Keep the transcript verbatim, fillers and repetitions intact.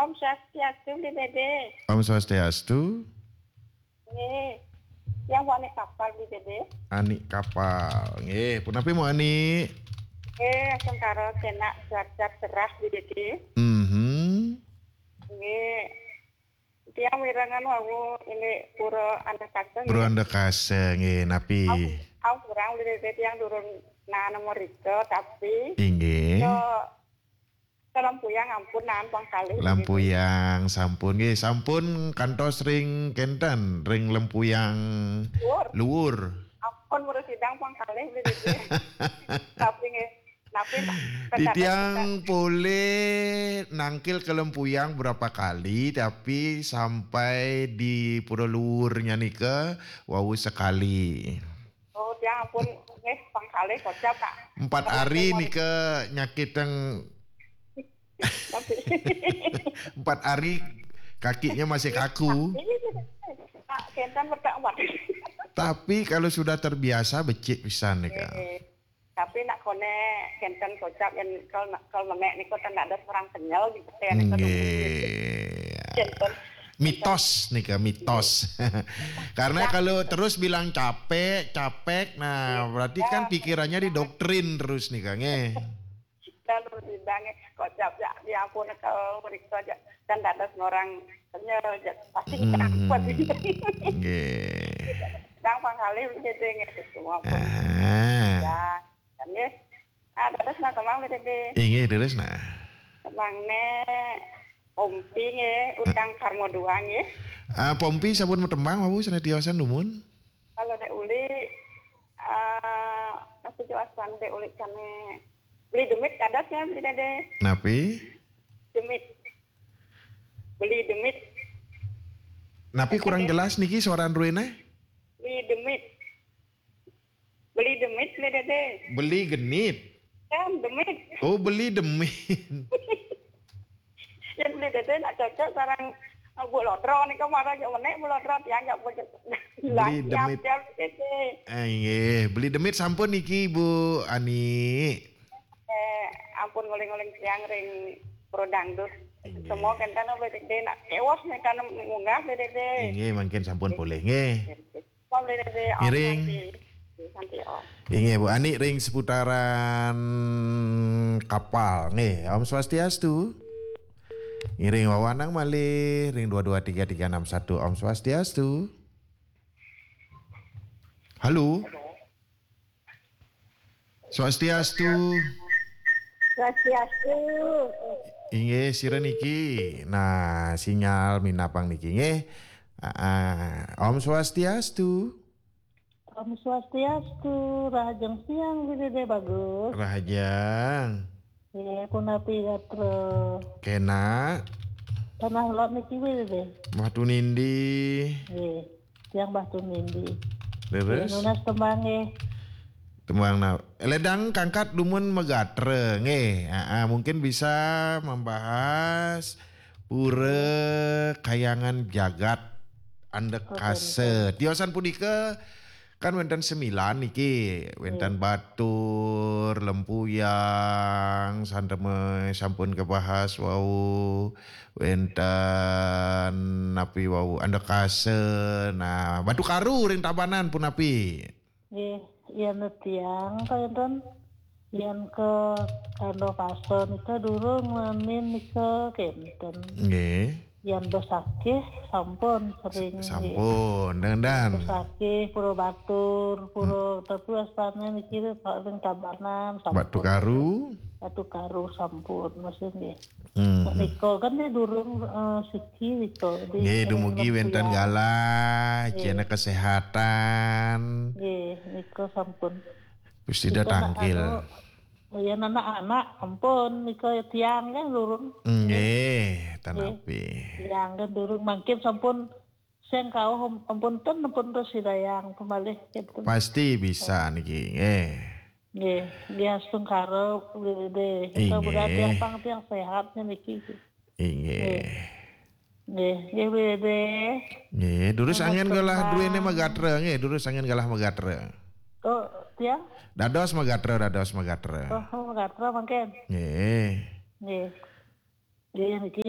Om Swastiastu, Bli Dede. Om Swastiastu. Nggih. Yang wani kapal, Bli Dede. Ani kapal. Nggih, punapi mau Ani? Nggih, sengkara kenak cuaca cerah, Bli Dede. Mhm. Nggih. Tiang mirengan wau ini pura Andakasa, Pura nggih. Andakasa, nggih, napi? Au, au kurang, Bli Dede, tiang durung nana merika, tapi Inggih. Ke Lempuyang ampun, naan pang kalih, Bli Dede. Lempuyang sampun, nggih, sampun kantos ring kenten, ring Lempuyang Luhur. Luhur. Ampun, murus sidang pang kalih, Bli Dede. Tapi nggih, tapi Titiang polih nangkil ke Lempuyang berapa kali, tapi sampai di Pura Luhurnya nika wau sekali. Oh, tiang ampun, nggih, pang kalih kocap, Kak. Empat hari nika nyakit yang Tapi empat hari kakinya masih kaku. Ini, Kak, kenten bertak empat. Tapi kalau sudah terbiasa, becik pisan nih, Kak. Eh, tapi nak kone kenten kocap yang kalau nak, kalau memek nih kok tak ada orang kenyal gitu, ya, nih, kok. Nggih. Kenten. Mitos nih, Kak, mitos. Karena kalau terus bilang capek, capek, nah, berarti kan pikirannya didoktrin terus nih, Kak, nggih. Lalu sidang, kocap ya, ya ampun, kalau meriksa aja. Dan dadas orang kenyal aja. Pasti kita kuat. Hmm, nggih. Sidang pang kalih, Bli Dede, nggih, gitu, ampun. Ah. Ya, kan, nggih. Ah, dados nah, kemang, Bli Dede. Inggih, dados nah. Kemang ne, Pompi, nggih, utang karma dua, nggih. Ah, Pompi sampun matembang, Bapak, sané tiosan dumun? Kalau Dek Uli, eh, masih jelas kan Dek Uli kami beli demit kadas ya, Bli Dede. Napi? Demit. Beli demit. Napi kurang jelas niki suara druéné? Beli demit. Beli demit, Bli Dede. Beli genit. Kan demit. Oh, beli demit. Yén Bli Dede nak cocok sareng, eh, Bu Lodro nika, marang yo menék Bu Lodro, tiang yo Bu. Beli demit. Tiang, tiang, Bli Dede. Eh, nggih, beli demit sampun niki, Bu Ani. Eh, ampun nguling-nguling tiang ring Pro Dangdut. Nggih. Semua kenten Bli Dede nak kéwos nika munggah, Bli Dede. Nggih, mangkin sampun polih nggih. Nggih. Ngiring. Santi, Om. Inggih, Bu Ani ring seputaran kapal. Nggih, Om Swastiastu. Ngiring wawanang malih ring dua dua tiga tiga enam satu. Om Swastiastu. Halo. Swastiastu. Swastiastu. Inggih, sira niki. Nah, sinyal minapang niki nggih. Ah, ah. Om Swastiastu. Om Swastiastu, rahajeng siang, Bli Dede Bagus. Rahajeng. Nggih, punapi gatra? Kénak. Tanah lot niki, Bli Dede. Batu Nindi. Nggih, tiang Batu Nindi. Leres. Nggih, nunas tembang nggih. Tembang na-, ledang kangkat dumun magatra nggih. Ah, ah, mungkin bisa membahas Pura Kahyangan Jagat Andakasa. Tiosan punika kan wénten sembilan niki, wénten Batur, Lempuyang, santeme sampun kabahas wau, wénten napi wau, Andakasa. Nah, Batu Karu ring Tabanan punapi? Nggih, yén tiang kenten, yén ka Andakasa nika durung, nanin nika kenten. Nggih. Yén Besakih sampun sering, nggih. Sampun, dandan. Besakih, Pura Batur, Pura, tapi asalné niki ring Tabanan sampun. Batu Karu. Batu Karu sampun, maksud nggih. Hmm. Nika kan dia durung, eh, siki nika. Nggih, dumugi wénten galah, nggih. Céna kesehatan. Nggih, nika sampun. Gusti nika tangkil. Anu, ya, anak-anak, ampun, nika ya tiang kan durung. Nggih, tanapi. Tiang kan durung, mangkin sampun sing kauh, ampun ten, ampun terus sidayang pemalih gitu. Pasti bisa niki, nggih. Nggih, nggih, astungkara, Bli Dede. Kita berarti apa tiang sehatnya niki. Inggih. Nggih, nggih, Bli Dede. Nggih, durus angin galah duéné magatra, nggih, durus angin galah magatra. Oh, tiang? Dados magatra, dados magatra. Oh, oh, magatra mangkin. Nggih. Nggih. Nggih, niki